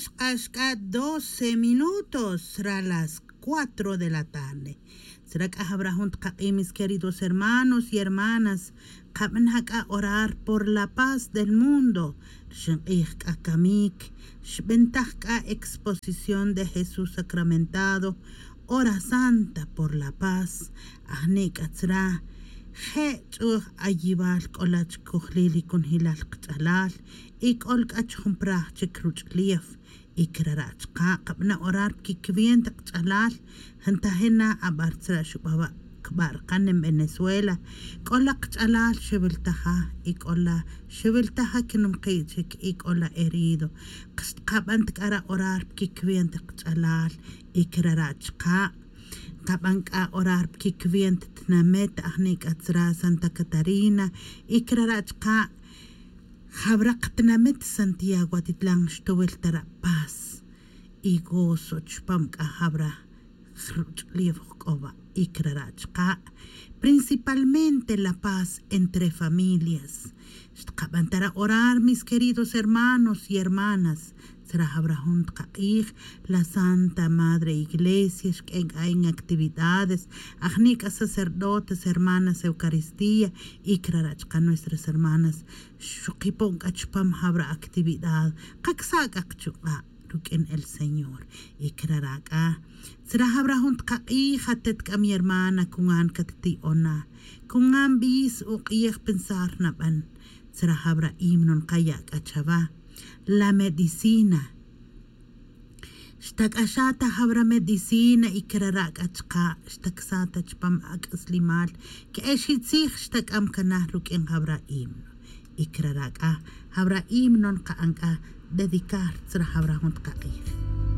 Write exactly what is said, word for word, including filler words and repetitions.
Chq'ax k'a doce minutos tzra las cuatro de la tarde. Tzra k'a jab'ra jun tqaq'i' mis queridos hermanos y hermanas, qab'ana' k'a orar por la paz del mundo. Rxin q'ij k'a kamik xb'entaj k'a exposición de Jesús sacramentado, hora santa por la paz. Ajni' k'a tzra je' ch'uj ayib'al k'ola chkojlil y kunjilal qch'alal, y k'ol k'a chjun praj chik ruch'lef. Y krara' chqa' qab'ana' orar pkikwiente qch'alal. Jantaje na ab'ar tzra xub'awa' kb'a' rqan en Venezuela, k'ola qch'alal xewiltaja y k'ola xewiltaja kinumqi' chik y k'ola herido. Xtqab'an ta k'ara' orar pkikwiente qch'alal. Y krara' chqa' qab'an k'a orar pkikwiente tnamet ajni' k'a tzra Santa Catarina. Y krara' chqa' jab'ra qtnamet Santiago Atitlan xtowil ta ra' paz y gozo chpam k'a jab'ra ruch'lef jk'oba'. Y krara' chqa' principalmente la paz entre familias. Xtqab'an ta ra' orar mis queridos hermanos y hermanas. Tzra jab'ra jun tqaq'ij, la Santa Madre Iglesia xk'en k'a en actividades, ajni' k'a sacerdotes, hermanas Eucaristía, y krara' chqa' nuestras hermanas xuqipon k'a chpam jab'ra actividad. Qaksa' k'a qchuq'a' ruk'in el Señor. Y krara' k'a tzra jab'ra jun tqaq'ij, atet k'a mi hermana, kungan katti'ona, kungan b'is uq'ij pensar nab'an. Tzra jab'ra himno nqaya' k'a chawa, la medicina. Xtak'axa' ta jab'ra medicina y krara' k'a chqa' xtaksa' ta chpam ak'aslimal. Ke'ex i tzij xtak'am kanaj ruk'in jab'ra himno. Y krara' k'a jab'ra himno nqa'an k'a dedicar tzra jab'ra jun tqaq'ij.